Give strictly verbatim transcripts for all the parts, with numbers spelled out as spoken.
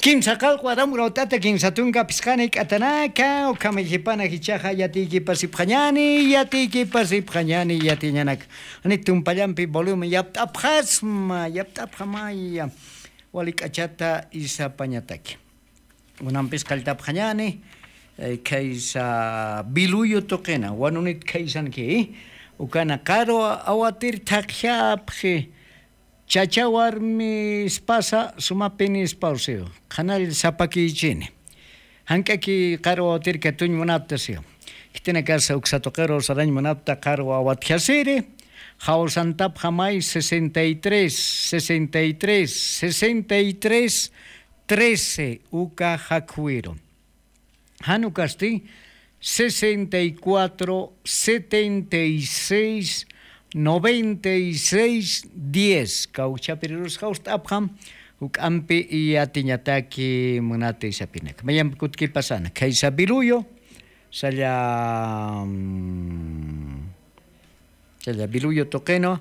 Kimsa qalqu aram urawt'ata kimsa tunka phisqani k'atanaka, ukhamay jipana jichaxa yatiykipasipxañani, yatiykipasipxañani, yatiñanaka. Ani tumpallampi volumen yapt'apxasma, yapt'apxamaya. Wali k'achata isapañataki. Unampis qalltapxañani, eh, khaysa Biluyu tuqina, wanunit khaysanki, ukana qarwa awatir thaqjapxi, chacha warmispasa sumapinispawsi, qhanall sapakichini. Jank'aki qarwa awatir katuñ munaptasi. Khitinakasa uksa tuqiru sarañ munapta qarwa awatjasiri, jawsantapxamay sesenta y tres, sesenta y tres, sesenta y tres, trece uka jakwiru. Jan ukasti sesenta y cuatro, setenta y seis, noventa y seis, diez. Kawkchapirirus jawst'apxam, juk'ampi yatiñataki munati sapinaka. Mayampi kutkipasana, khaysa Biluyu, salla, mm, Challa Biluyu tuqinu,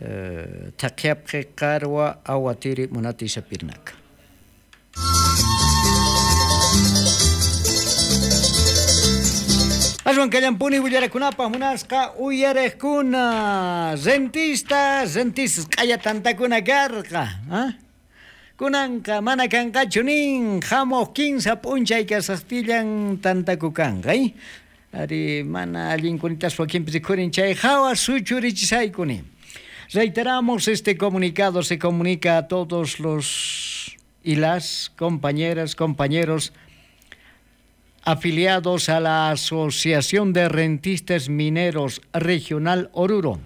eh, thaqhiyapxi qarwa awatiri munati sapirnaka. Aswan kallampuni willarakunapaq munasqa uyariqkuna, rentistas, rentistas q'aya tantakuna karqa, ¿ah? Kunanqa mana kanqachu nin, jamuq kinsa p'unchay kasaqtillan tantaku kanqa, ¿eh? Ari, mana allinkunitas wakinpi rikhurin chay jawa suchurichisaykuni. Reiteramos, este comunicado se comunica a todos los y las compañeras, compañeros afiliados a la Asociación de Rentistas Mineros Regional Oruro.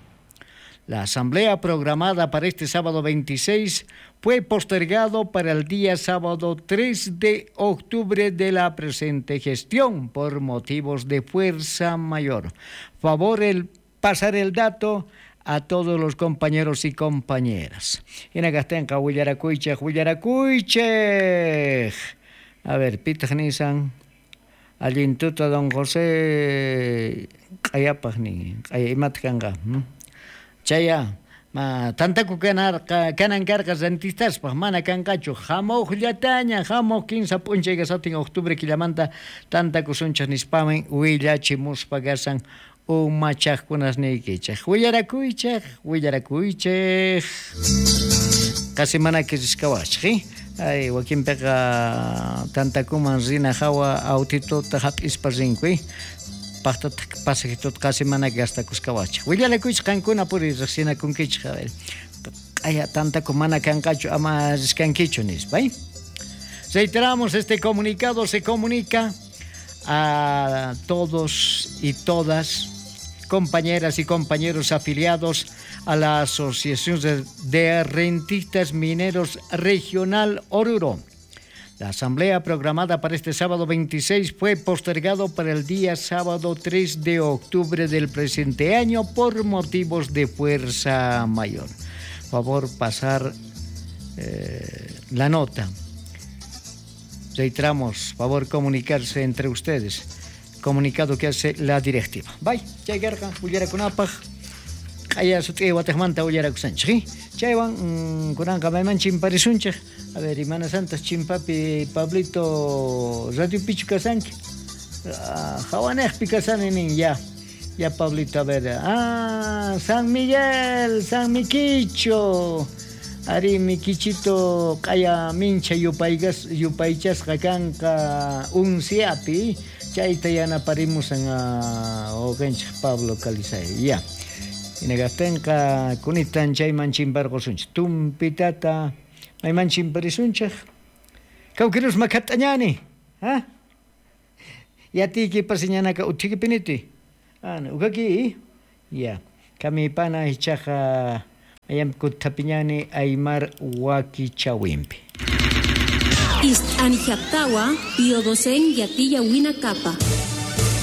La asamblea programada para este sábado veintiséis fue postergado para el día sábado tres de octubre de la presente gestión por motivos de fuerza mayor. Favor el pasar el dato a todos los compañeros y compañeras. Ina kastinqa willarakuychik, willarakuychik. A ver, pitaq nisan? Allintuta don José q'ayapaq ni, q'aya imat kanqa, ¿hmm? Chaya, ma, tantaku kanarqa, kanan karqa rentistaspa, mana kanqachu. Jamuqllataña, jamuq kinsa p'unchay kasatin octubre killamanta tantakusunchik nispamin willachimuspa kasan. Umachaqkunasniykichik, willarakuychik, willarakuychik. Qasi manaki riskawaqchik, ¿eh? Ay, wakinpiqa tantakuman rina jawa awtituta jap'ispa rinku, ¿eh? Paqtataq pasajituta qasi manaki gastakuskawaqchik. Willarakuychik, qankuna puri riqsinakunkichik, a ver, q'aya tantaku mana kanqachu, ama riskankichu, nispa, ¿eh? Reiteramos, este comunicado se comunica a todos y todas, compañeras y compañeros afiliados a la Asociación de, de Rentistas Mineros Regional Oruro. La asamblea programada para este sábado veintiséis fue postergado para el día sábado tres de octubre del presente año por motivos de fuerza mayor. Favor pasar, eh, la nota. Reiteramos, favor comunicarse entre ustedes. Comunicado que hace la directiva. Bay, chay karqa, willarakunapaq. Q'aya sut'i watiqmanta willarakusanchik, ¿sí? Chaywan, mm, kunanqa mayman chimparisunchik. A ver, imanasantaq chimpapi Pablito, radiopichu kasanki? Ah, jawaniqpi kasani nin, ya. Ya, Pablito, a ver, ah, San Miguel, San Mikichu. Ari, Mikichito q'aya minchha yupaykas-, yupaychasqa kanqa unciapi, chayta yanaparimusan, ah, wawqinchik Pablo Calizay. Ya. Ina kastinqa kunitan chayman chimparqusunchik. Tumpitata mayman chimparisunchik. Kawkirus makhat'añani, ¿ah? Yatiykipasiñanaka utjikipiniti. Ana, ukaki, ya. Kamipana ichaqa, mayampi kuthapiñani aymar wakichawimpi. Ist'anijaptawa, Pío Docein yatiya winakapa.